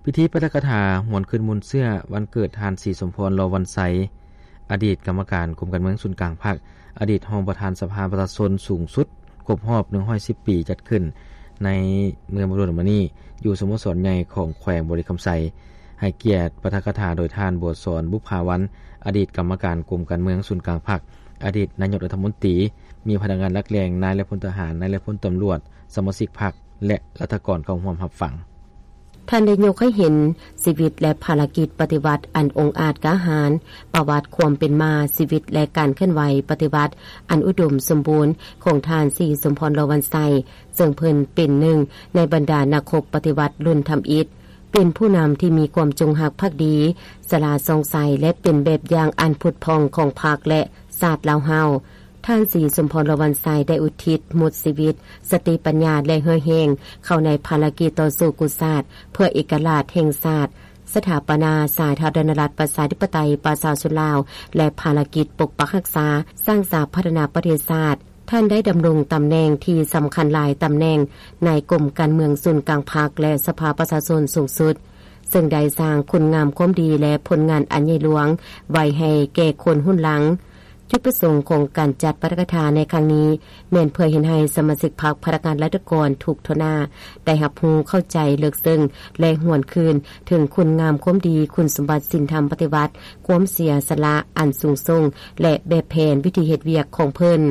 ພິທີປາຖະກະຖາຫວນຄືນມູນເຊື້ອວັນເກີດທ່ານ ສີສົມພອນ ລໍວັນໄຊ ອະດີດກຳມະການກົມການເມືອງສູນກາງພັກ, ອະດີດຮອງປະທານສະພາປະຊາຊົນສູງສຸດ ຄົບຮອບໜຶ່ງຮ້ອຍສິບປີ ຈັດຂຶ້ນໃນເມື່ອບໍ່ດົນມານີ້ ຢູ່ສະໂມສອນໃຫຍ່ຂອງແຂວງບໍລິຄຳໄຊ. ໃຫ້ກຽດປາຖະກະຖາໂດຍທ່ານ ບົວສອນ ບຸບພາວັນ ອະດີດກຳມະການກົມການເມືອງສູນກາງພັກ, ອະດີດນາຍົກລັດຖະມົນຕີ, ມີພະນັກງານຫຼັກແຫຼ່ງ, ນາຍ ແລະ ພົນທະຫານ, ນາຍ ແລະ ພົນຕຳຫຼວດ, ສະມາຊິກພັກ ແລະ ລັດຖະກອນເຂົ້າຮ່ວມຮັບຟັງ. ທ່ານໄດ້ຍົກໃຫ້ເຫັນຊີວິດ ແລະ ພາລະກິດປະຕິວັດອັນອົງອາດກ້າຫານ, ປະຫວັດຄວາມເປັນມາ, ຊີວິດ ແລະ ການເຄື່ອນໄຫວປະຕິວັດອັນອຸດົມສົມບູນຂອງທ່ານ ສີສົມພອນ ລໍວັນໄຊ, ເຊິ່ງເພິ່ນເປັນໜຶ່ງໃນບັນດານັກຮົບປະຕິວັດລຸ້ນທຳອິດ, ເປັນຜູ້ນຳທີ່ມີຄວາມຈົງຮັກພັກດີ, ສະຫຼາດສ່ອງໃສ ແລະ ເປັນແບບຢ່າງອັນຜຸດຜ່ອງຂອງພັກ ແລະ ຊາດລາວເຮົາ. ທ່ານ ສີສົມພອນ ລໍວັນໄຊ ໄດ້ອຸທິດໝົດຊີວິດ, ສະຕິປັນຍາ ແລະ ເຫື່ອແຮງເຂົ້າໃນພາລະກິດຕໍ່ສູ້ກູ້ຊາດເພື່ອເອກະລາດແຫ່ງຊາດ, ສະຖາປະນາສາທາລະນະລັດປະຊາທິປະໄຕປະຊາຊົນລາວ ແລະ ພາລະກິດປົກປັກຮັກສາ, ສ້າງສາພັດທະນາປະເທດຊາດ. ທ່ານໄດ້ດຳລົງຕຳແໜ່ງທີ່ສຳຄັນຫຼາຍຕຳແໜ່ງໃນກົມການເມືອງສູນກາງພັກ ແລະ ສະພາປະຊາຊົນສູງສຸດ, ເຊິ່ງໄດ້ສ້າງຄຸນງາມຄວາມດີ ແລະ ຜົນງານອັນໃຫຍ່ຫຼວງໄວ້ໃຫ້ແກ່ຄົນຮຸ່ນຫຼັງ. ຈຸດປະສົງຂອງການຈັດປາຖະກະຖາໃນຄັ້ງນີ້ ແມ່ນເພື່ອເຮັດໃຫ້ສະມາຊິກພັກ, ພະນັກງານລັດຖະກອນທຸກທົ່ວໜ້າ ໄດ້ຮັບຮູ້ເຂົ້າໃຈເລິກເຊິ່ງ ແລະ ຫວນຄືນເຖິງຄຸນງາມຄວາມດີ, ຄຸນສົມບັດສິນທຳປະຕິວັດ, ຄວາມເສຍສະຫຼະອັນສູງສົ່ງ ແລະ ແບບແຜນວິທີເຮັດວຽກຂອງເພິ່ນ.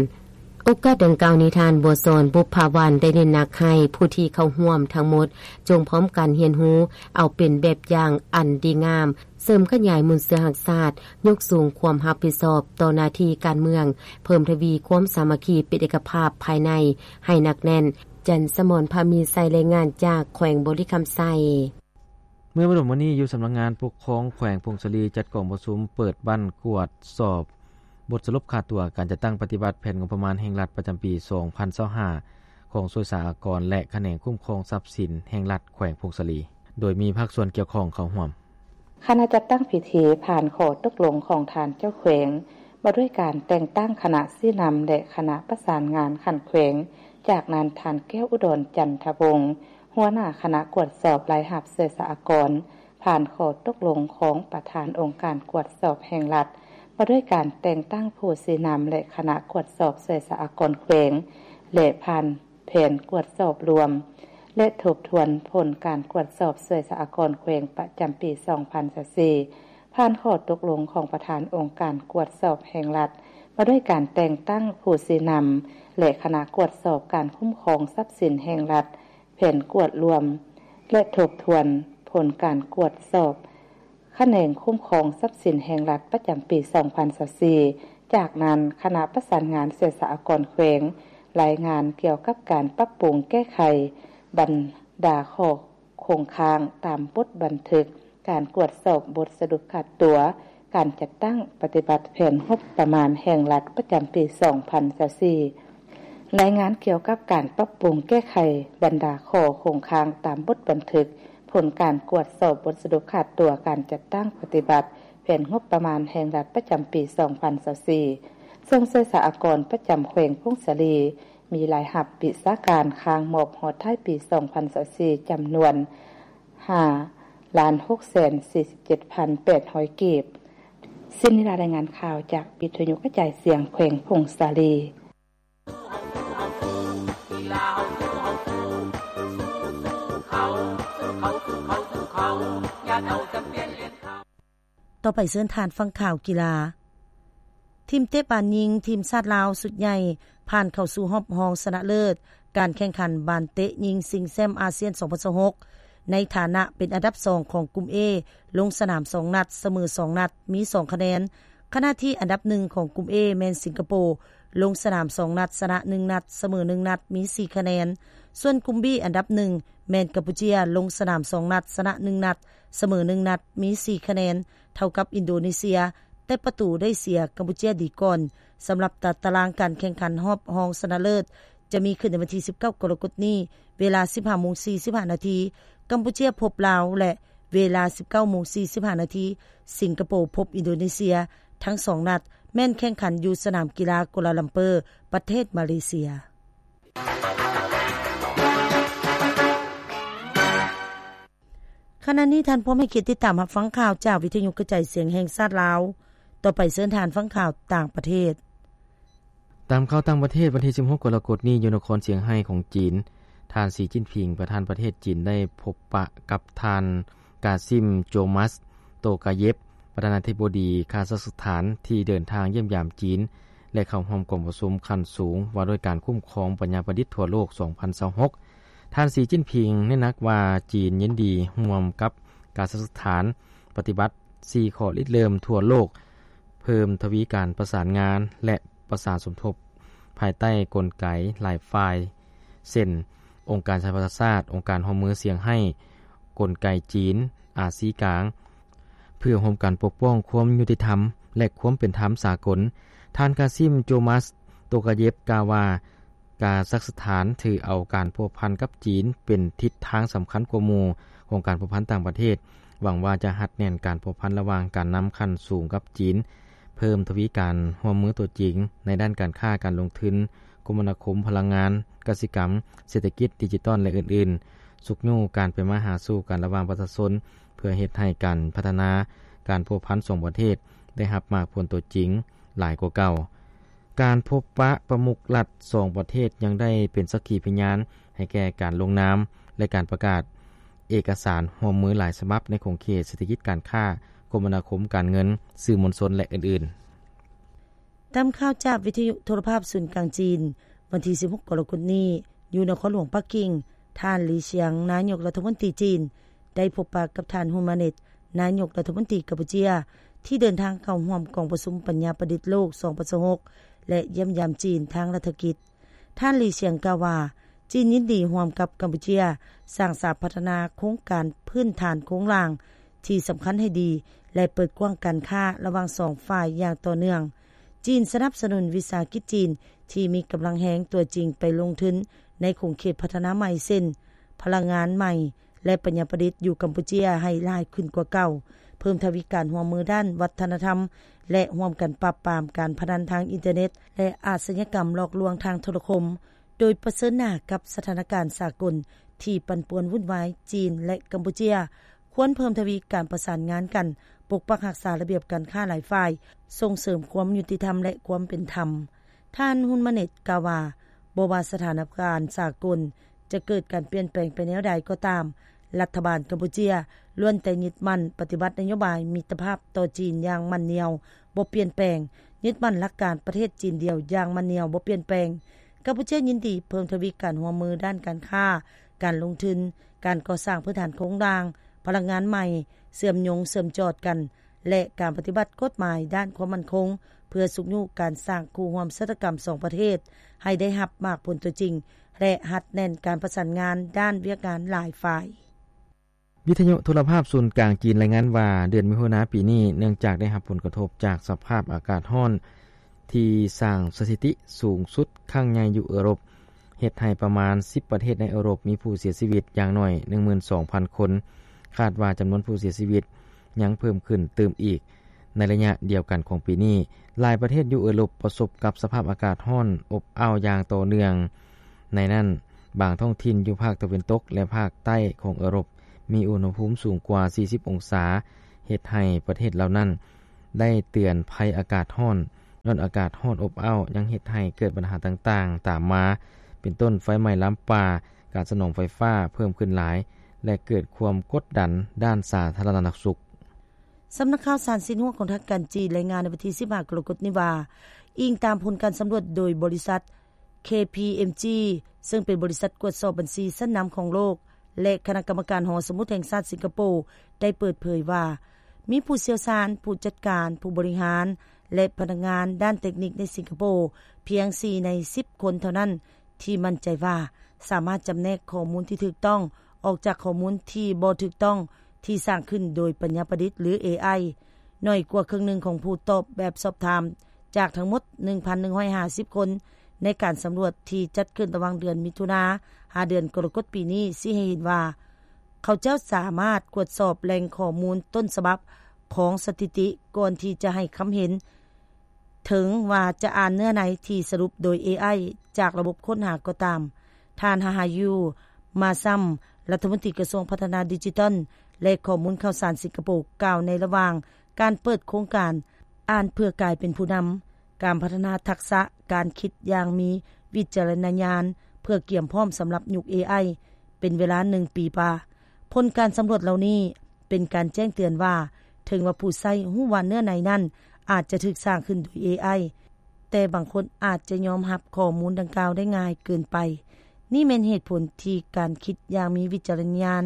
ໂອກາດດັ່ງກ່າວນີ້, ທ່ານ ບົວສອນ ບຸບພາວັນ ໄດ້ເນັ້ນໜັກໃຫ້ຜູ້ທີ່ເຂົ້າຮ່ວມທັງໝົດ ຈົ່ງພ້ອມກັນຮຽນຮູ້ເອົາເປັນແບບຢ່າງອັນດີງາມ, ເສີມຂະຫຍາຍມູນເຊື້ອຮັກຊາດ, ຍົກສູງຄວາມຮັບຜິດຊອບຕໍ່ໜ້າທີ່ການເມືອງ, ເພີ່ມທະວີຄວາມສາມັກຄີເປັນເອກະພາບພາຍໃນໃຫ້ໜັກແໜ້ນ. ຈັນສະໝອນ ພາມີໄຊ, ລາຍງານຈາກແຂວງບໍລິຄຳໄຊ. ເມື່ອບໍ່ດົນມານີ້, ຢູ່ສຳນັກງານປົກຄອງແຂວງຜົ້ງສາລີ ຈັດກອງປະຊຸມເປີດບັ້ນກວດສອບບົດສະຫຼຸບຄ່າຕົວການຈັດຕັ້ງປະຕິບັດແຜນງົບປະມານແຫ່ງລັດປະຈຳປີສອງພັນຊາວຫ້າ ຂອງສ່ວຍສາອາກອນ ແລະ ຂະແໜງຄຸ້ມຄອງຊັບສິນແຫ່ງລັດແຂວງຜົ້ງສາລີ, ໂດຍມີພາກສ່ວນກ່ຽວຂ້ອງເຂົ້າຮ່ວມ. ຄະນະຈັດຕັ້ງພິທີຜ່ານຂໍ້ຕົກລົງຂອງທ່ານເຈົ້າແຂວງ ວ່າດ້ວຍການແຕ່ງຕັ້ງຄະນະຊີ້ນຳ ແລະ ຄະນະປະສານງານຂັ້ນແຂວງ. ຈາກນັ້ນ, ທ່ານ ແກ້ວອຸດອນ ຈັນທະວົງ ຫົວໜ້າຄະນະກວດສອບລາຍຮັບສ່ວຍສາອາກອນ ຜ່ານຂໍ້ຕົກລົງຂອງປະທານອົງການກວດສອບແຫ່ງລັດ ວ່າດ້ວຍການແຕ່ງຕັ້ງຜູ້ຊີ້ນຳ ແລະ ຄະນະກວດສອບສ່ວຍສາອາກອນແຂວງ ແລະ ຜ່ານແຜນກວດສອບລວມ ແລະ ທົບທວນຜົນການກວດສອບສ່ວຍສາອາກອນແຂວງປະຈຳປີສອງພັນຊາວສີ່ ຜ່ານຂໍ້ຕົກລົງຂອງປະທານອົງການກວດສອບແຫ່ງລັດ ວ່າດ້ວຍການແຕ່ງຕັ້ງຜູ້ຊີ້ນຳ ແລະ ຄະນະກວດສອບການຄຸ້ມຄອງຊັບສິນແຫ່ງລັດ ແຜນກວດລວມ ແລະ ທົບທວນຜົນການກວດສອບຂະແໜງຄຸ້ມຄອງຊັບສິນແຫ່ງລັດປະຈຳປີສອງພັນຊາວສີ່. ຈາກນັ້ນ, ຄະນະປະສານງານສ່ວຍສາອາກອນແຂວງ ລາຍງານກ່ຽວກັບການປັບປຸງແກ້ໄຂບັນດາຂໍ້ຄົງຄ້າງຕາມບົດບັນທຶກ ການກວດສອບບົດສະຫຼຸບຄ່າຕົວການຈັດຕັ້ງປະຕິບັດແຜນງົບປະມານແຫ່ງລັດປະຈຳປີສອງພັນຊາວສີ່. ລາຍງານກ່ຽວກັບການປັບປຸງແກ້ໄຂບັນດາຂໍ້ຄົງຄ້າງຕາມບົດບັນທຶກຜົນການກວດສອບບົດສະຫຼຸບຂາດຕົວການຈັດຕັ້ງປະຕິບັດແຜນງົບປະມານແຫ່ງລັດປະຈຳປີສອງພັນຊາວສີ່ ເຊິ່ງເສສາອາກອນປະຈຳແຂວງຜົ້ງສາລີ ມີລາຍຮັບວິຊາການຄ້າງມອບຮອດທ້າຍປີສອງພັນຊາວສີ່ ຈຳນວນຫ້າລ້ານຫົກແສນສີ່ສິບເຈັດພັນແປດຮ້ອຍກີບ. ສິນນິລາ ລາຍງານຂ່າວຈາກວິທະຍຸກະຈາຍສຽງແຂວງຜົ້ງສາລີ. ຕໍ່ໄປເຊີນທ່ານຟັງຂ່າວກິລາ. ທີມເຕະບານຍິງ ທີມຊາດລາວຊຸດໃຫຍ່ ຜ່ານເຂົ້າສູ່ຮອບຮອງຊະນະເລີດ ການແຂ່ງຂັນບານເຕະຍິງຊິງແຊ້ມອາຊຽນສອງພັນຊາວຫົກ ໃນຖານະເປັນອັນດັບສອງຂອງກຸ່ມ A ລົງສະໜາມສອງນັດ ສະເໝີສອງນັດ ມີສອງຄະແນນ. ຂະນະທີ່ອັນດັບໜຶ່ງຂອງກຸ່ມ A ແມ່ນສິງກະໂປ ລົງສະໜາມສອງນັດ ຊະນະໜຶ່ງນັດ ສະເໝີໜຶ່ງນັດ ມີສີ່ຄະແນນ. ສ່ວນກຸ່ມ B ອັນດັບໜຶ່ງແມ່ນກຳປູເຈຍ ລົງສະໜາມສອງນັດ ຊະນະໜຶ່ງນັດ ສະເໝີໜຶ່ງນັດ ມີສີ່ຄະແນນ ເທົ່າກັບອິນໂດເນເຊຍ ແຕ່ປະຕູໄດ້ເສຍກຳປູເຈຍດີກ່ອນ. ສຳລັບຕາຕະລາງການແຂ່ງຂັນຮອບຮອງຊະນະເລີດ ຈະມີຂຶ້ນໃນວັນທີສິບເກົ້າ ກໍລະກົດນີ້ ເວລາສິບຫ້າໂມງສີ່ສິບຫ້ານາທີ ກຳປູເຈຍພົບລາວ ແລະ ເວລາສິບເກົ້າໂມງສີ່ສິບຫ້ານາທີ ສິງກະໂປພົບອິນໂດເນເຊຍ. ທັງສອງນັດແມ່ນແຂ່ງຂັນຢູ່ສະໜາມກິລາກົວລາລັມເປີ ປະເທດມາເລເຊຍ. ຂະນະນີ້ທ່ານພ້ອມໃຫ້ກຽດຕິດຕາມຮັບຟັງຂ່າວຈາກວິທະຍຸກະຈາຍສຽງແຫ່ງຊາດລາວ. ຕໍ່ໄປເຊີນທ່ານຟັງຂ່າວຕ່າງປະເທດ. ຕາມຂ່າວຕ່າງປະເທດ, ວັນທີສິບຫົກ ກໍລະກົດນີ້ ຢູ່ນະຄອນຊຽງໄຮ້ຂອງຈີນ, ທ່ານ ສີ ຈິ້ນຜິງ ປະທານປະເທດຈີນ ໄດ້ພົບປະກັບທ່ານ ກາຊິມ ໂຈມັສ ໂຕກາເຢບ ປະທານາທິບໍດີຄາຊັກສະຖານ ທີ່ເດີນທາງຢ້ຽມຢາມຈີນ ແລະ ເຂົ້າຮ່ວມກອງປະຊຸມຂັ້ນສູງວ່າດ້ວຍການຄຸ້ມຄອງປັນຍາປະດິດທົ່ວໂລກ ສອງພັນຊາວຫົກ. ທ່ານ ສີ ຈິ້ນຜິງ ເນັ້ນໜັກວ່າ ຈີນຍິນດີຮ່ວມກັບຄາຊັກສະຖານ ປະຕິບັດສີ່ຂໍ້ລິເລີ່ມທົ່ວໂລກ, ເພີ່ມທະວີການປະສານງານ ແລະ ປະສານສົມທົບ ພາຍໃຕ້ກົນໄກຫຼາຍຝ່າຍ ເຊັ່ນ ອົງການສະຫະປະຊາຊາດ, ອົງການຮ່ວມມືຊຽງໄຮ້, ກົນໄກຈີນ, ອາຊີກາງ, ເພື່ອຮ່ວມກັນປົກປ້ອງຄວາມຍຸຕິທຳ ແລະ ຄວາມເປັນທຳສາກົນ. ທ່ານ ກາຊິມ ໂຈມັສ ໂຕກາເຢບ ກ່າວວ່າ ກາຊັກສະຖານຖືເອົາການພົວພັນກັບຈີນເປັນທິດທາງສຳຄັນກວ່າໝູ່ຂອງການພົວພັນຕ່າງປະເທດ, ຫວັງວ່າຈະຮັດແໜ້ນການພົວພັນລະຫວ່າງການນຳຂັ້ນສູງກັບຈີນ, ເພີ່ມທະວີການຮ່ວມມືຕົວຈິງໃນດ້ານການຄ້າ, ການລົງທຶນ, ຄົມມະນາຄົມ, ພະລັງງານ, ກະສິກຳ, ເສດຖະກິດ, ດິຈິຕອນ ແລະ ອື່ນໆ, ຊຸກຍູ້ການໄປມາຫາສູ່ກັນລະຫວ່າງປະຊາຊົນ ເພື່ອເຮັດໃຫ້ການພັດທະນາການພົວພັນສອງປະເທດໄດ້ຮັບໝາກຜົນຕົວຈິງຫຼາຍກວ່າເກົ່າ. ການພົບປະປະມຸກລັດສອງປະເທດຍັງໄດ້ເປັນສັກຂີພະຍານໃຫ້ແກ່ການລົງນາມ ແລະ ການປະກາດເອກະສານຮ່ວມມືຫຼາຍສະບັບໃນຂົງເຂດເສດຖະກິດ, ການຄ້າ, ຄົມມະນາຄົມ, ການເງິນ, ສື່ມວນຊົນ ແລະ ອື່ນໆ. ຕາມຂ່າວຈາກວິທະຍຸໂທລະພາບສູນກາງຈີນ, ວັນທີສິບຫົກ ກໍລະກົດນີ້ ຢູ່ນະຄອນຫຼວງປັກກິ່ງ, ທ່ານ ຫຼີ ຊຽງ ນາຍົກລັດຖະມົນຕີຈີນ ໄດ້ພົບປະກັບທ່ານ ຮຸນ ມາເນັດ ນາຍົກລັດຖະມົນຕີກຳປູເຈຍ ທີ່ເດີນທາງເຂົ້າຮ່ວມກອງປະຊຸມປັນຍາປະດິດໂລກ ສອງພັນຊາວຫົກ ແລະ ຢ້ຽມຢາມຈີນທາງລັດຖະກິດ. ທ່ານ ຫຼີ ຊຽງ ກ່າວວ່າ ຈີນຍິນດີຮ່ວມກັບກຳປູເຈຍ ສ້າງສາພັດທະນາໂຄງການພື້ນຖານໂຄງລ່າງທີ່ສຳຄັນໃຫ້ດີ ແລະ ເປີດກວ້າງການຄ້າລະຫວ່າງສອງຝ່າຍຢ່າງຕໍ່ເນື່ອງ. ຈີນສະໜັບສະໜູນວິສາຫະກິດຈີນທີ່ມີກຳລັງແຮງຕົວຈິງໄປລົງທຶນໃນຂົງເຂດພັດທະນາໃໝ່ ເຊັ່ນ ພະລັງງານໃໝ່ ແລະ ປັນຍາປະດິດຢູ່ກຳປູເຈຍໃຫ້ຫຼາຍຂຶ້ນກວ່າເກົ່າ, ເພີ່ມທະວີການຮ່ວມມືດ້ານວັດທະນະທຳ ແລະ ຮ່ວມກັນປາບປາມການພະນັນທາງອິນເຕີເນັດ ແລະ ອາຊະຍາກຳຫຼອກລວງທາງໂທລະຄົມ, ໂດຍປະເຊີນໜ້າກັບສະຖານະການສາກົນທີ່ປັ່ນປ່ວນວຸ່ນວາຍ. ຈີນ ແລະ ກຳປູເຈຍ ຄວນເພີ່ມທະວີການປະສານງານກັນ, ປົກປັກຮັກສາລະບຽບການຄ້າຫຼາຍຝ່າຍ, ສົ່ງເສີມຄວາມຍຸຕິທຳ ແລະ ຄວາມເປັນທຳ. ທ່ານ ຮຸນ ມາເນັດ ກ່າວວ່າ ບໍ່ວ່າສະຖານະການສາກົນຈະເກີດການປ່ຽນແປງໄປແນວໃດກໍຕາມ, ລັດຖະບານກຳປູເຈຍລ້ວນແຕ່ຍຶດໝັ້ນປະຕິບັດນະໂຍບາຍມິດຕະພາບຕໍ່ຈີນຢ່າງໝັ້ນໜຽວບໍ່ປ່ຽນແປງ, ຍຶດໝັ້ນຫຼັກການປະເທດຈີນດຽວຢ່າງໝັ້ນໜຽວບໍ່ປ່ຽນແປງ. ກຳປູເຈຍຍິນດີເພີ່ມທະວີການຮ່ວມມືດ້ານການຄ້າ, ການລົງທຶນ, ການກໍ່ສ້າງພື້ນຖານໂຄງລ່າງ, ພະລັງງານໃໝ່, ເຊື່ອມໂຍງເຊື່ອມຈອດກັນ ແລະ ການປະຕິບັດກົດໝາຍດ້ານຄວາມໝັ້ນຄົງ ເພື່ອຊຸກຍູ້ການສ້າງຄູ່ຮ່ວມຊະຕາກຳສອງປະເທດໃຫ້ໄດ້ຮັບໝາກຜົນຕົວຈິງ ແລະ ຮັດແໜ້ນການປະສານງານດ້ານວຽກງານຫຼາຍຝ່າຍ. ວິທະຍຸໂທລະພາບສູນກາງຈີນລາຍງານວ່າ ເດືອນມິຖຸນາປີນີ້ ເນື່ອງຈາກໄດ້ຮັບຜົນກະທົບຈາກສະພາບອາກາດຮ້ອນ ທີ່ສ້າງສະຖິຕິສູງສຸດຄັ້ງໃຫຍ່ຢູ່ເອີຣົບ, ເຮັດໃຫ້ປະມານສິບປະເທດໃນເອີຣົບມີຜູ້ເສຍຊີວິດຢ່າງໜ້ອຍໜຶ່ງໝື່ນສອງພັນຄົນ. ຄາດວ່າຈຳນວນຜູ້ເສຍຊີວິດຍັງເພີ່ມຂຶ້ນຕື່ມອີກ. ໃນໄລຍະດຽວກັນຂອງປີນີ້, ຫຼາຍປະເທດຢູ່ເອີຣົບປະສົບກັບສະພາບອາກາດຮ້ອນອົບອ້າວຢ່າງຕໍ່ເນື່ອງ. ໃນນັ້ນ, ບາງທ້ອງຖິ່ນຢູ່ພາກຕາເວັນຕົກ ແລະ ພາກໃຕ້ຂອງເອີຣົບ ມີອຸນຫະພູມສູງກວ່າສີ່ສິບອົງສາ, ເຮັດໃຫ້ປະເທດເຫຼົ່ານັ້ນໄດ້ເຕືອນໄພອາກາດຮ້ອນ. ຍ້ອນອາກາດຮ້ອນອົບອ້າວຍັງເຮັດໃຫ້ເກີດບັນຫາຕ່າງໆຕາມມາ, ເປັນຕົ້ນໄຟໄໝ້ລາມປ່າ, ການສະໜອງໄຟຟ້າເພີ່ມຂຶ້ນຫຼາຍ ແລະ ເກີດຄວາມກົດດັນດ້ານສາທາລະນະສຸກ. ສຳນັກຂ່າວສານຊິນຫົວຂອງທາງການຈີນລາຍງານໃນວັນທີສິບຫ້າ ກໍລະກົດນີ້ວ່າ, ອີງຕາມຜົນການສຳຫຼວດໂດຍບໍລິສັດ ເຄ ພີ ເອັມ ຈີ ເຊິ່ງເປັນບໍລິສັດກວດສອບບັນຊີຊັ້ນນຳຂອງໂລກ ແລະ ຄະນະກຳມະການຫໍສະໝຸດແຫ່ງຊາດສິງກະໂປ ໄດ້ເປີດເຜີຍວ່າ ມີຜູ້ຊ່ຽວຊານ, ຜູ້ຈັດການ, ຜູ້ບໍລິຫານ ແລະ ພະນັກງານດ້ານເຕັກນິກໃນສິງກະໂປ ພຽງສີ່ໃນສິບຄົນເທົ່ານັ້ນ ທີ່ໝັ້ນໃຈວ່າສາມາດຈຳແນກຂໍ້ມູນທີ່ຖືກຕ້ອງອອກຈາກຂໍ້ມູນທີ່ບໍ່ຖືກຕ້ອງ ທີ່ສ້າງຂຶ້ນໂດຍປັນຍາປະດິດ ຫຼື ເອໄອ. ໜ້ອຍກວ່າເຄິ່ງໜຶ່ງຂອງຜູ້ຕອບແບບສອບຖາມຈາກທັງໝົດໜຶ່ງພັນໜຶ່ງຮ້ອຍຫ້າສິບຄົນ ໃນການສຳຫຼວດທີ່ຈັດຂຶ້ນລະຫວ່າງເດືອນມິຖຸນາ ຫາເດືອນກໍລະກົດປີນີ້ ຊີ້ໃຫ້ເຫັນວ່າ ເຂົາເຈົ້າສາມາດກວດສອບແຫຼ່ງຂໍ້ມູນຕົ້ນສະບັບຂອງສະຖິຕິກ່ອນທີ່ຈະໃຫ້ຄຳເຫັນ ເຖິງວ່າຈະອ່ານເນື້ອໃນທີ່ສະຫຼຸບໂດຍເອໄອຈາກລະບົບຄົ້ນຫາກໍຕາມ. ທ່ານ ຮາຮາຢູ ມາຊຳ ລັດຖະມົນຕີກະຊວງພັດທະນາດິຈິຕອນ ແລະ ຂໍ້ມູນຂ່າວສານສິງກະໂປ ກ່າວໃນລະຫວ່າງການເປີດໂຄງການ ອ່ານເພື່ອກາຍເປັນຜູ້ນຳ, ການພັດທະນາທັກສະການຄິດຢ່າງມີວິຈາລະນະຍານ ເພື່ອກຽມພ້ອມສຳລັບຍຸກເອໄອ ເປັນເວລາໜຶ່ງປີວ່າ ຜົນການສຳຫຼວດເຫຼົ່ານີ້ເປັນການແຈ້ງເຕືອນວ່າ ເຖິງວ່າຜູ້ໃຊ້ຮູ້ວ່າເນື້ອໃນນັ້ນອາດຈະຖືກສ້າງຂຶ້ນໂດຍເອໄອ ແຕ່ບາງຄົນອາດຈະຍອມຮັບຂໍ້ມູນດັ່ງກ່າວໄດ້ງ່າຍເກີນໄປ. ນີ້ແມ່ນເຫດຜົນທີ່ການຄິດຢ່າງມີວິຈາລະນະຍານ,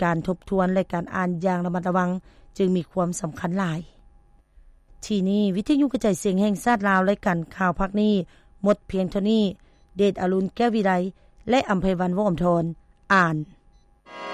ການທົບທວນ ແລະ ການອ່ານຢ່າງລະມັດລະວັງຈຶ່ງມີຄວາມສຳຄັນຫຼາຍ. ທີ່ນີ້ ວິທະຍຸກະຈາຍສຽງແຫ່ງຊາດລາວ ລາຍການຂ່າວພາກນີ້ໝົດພຽງເທົ່ານີ້. ເດດອາລຸນ ແກ້ວວິໄລ ແລະ ອຳໄພວັນ ວົງອຳທອນ ອ່ານ.